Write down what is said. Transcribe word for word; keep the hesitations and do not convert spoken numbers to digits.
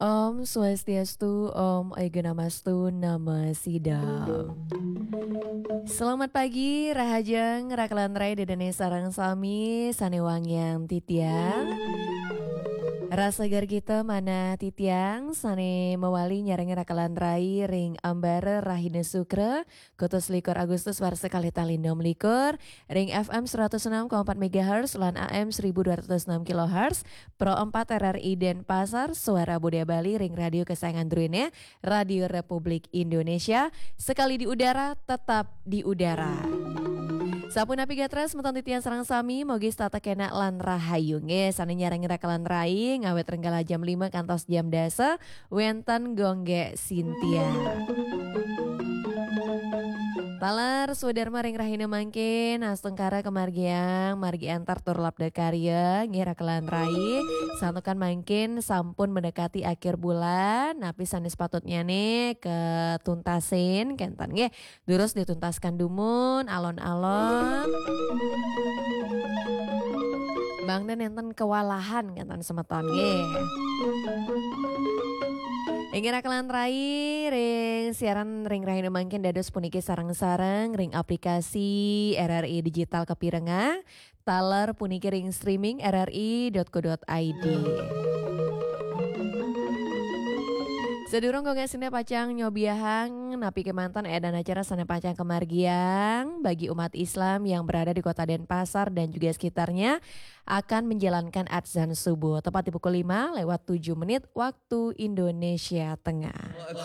Om Swastiastu, Om Aigana Mastu Nama Sidam. Selamat pagi, rahajeng, rakelan rai, dedene sareng sami sane wangiang titiang. Rasa gargita manah titiang sane mawali nyarengin rakelan rai ring ambara rahina Sukra, kutus likur Agustus warsa kalih tali enam likur, ring F M seratus enam koma empat megahertz lan A M seribu dua ratus enam kilohertz, Pro empat R R I Denpasar, Suara Budaya Bali ring radio kesayangan druene, Radio Republik Indonesia, sekali di udara, tetap di udara. Sapunapi gatra semeton titiang sareng sami, mogi setata kenak lan rahayu. Nggih, sane nyarengin rakelan rai, ngawit ring kala jam lima kantos jam dasa, wenten Gongge Sintia. Taler swadarma ring rahina mangkin, astungkara kamargiang, margi antar tur labda karya, nggih rakelan rai, santukan mangkin sampun mendekati akhir bulan, napi sane sepatutnyane ketuntasin, kenten nggih, durus dituntaskan dumun, alon-alon. Mangda nenten kewalahan, kenten semeton nggih. Inggih rakelan rai, ring siaran ring rahina mangkin dados puniki sareng-sareng ring aplikasi R R I Digital kapirengang, taler puniki ring streaming R R I dot co dot I D. Sadurung Gongge Sintia pacang nyobiahang napi kemanten edan acara sane pacang kamargiang bagi umat Islam yang berada di Kota Denpasar dan juga sekitarnya, akan menjalankan adzan subuh tepat di pukul lima lewat tujuh menit waktu Indonesia Tengah.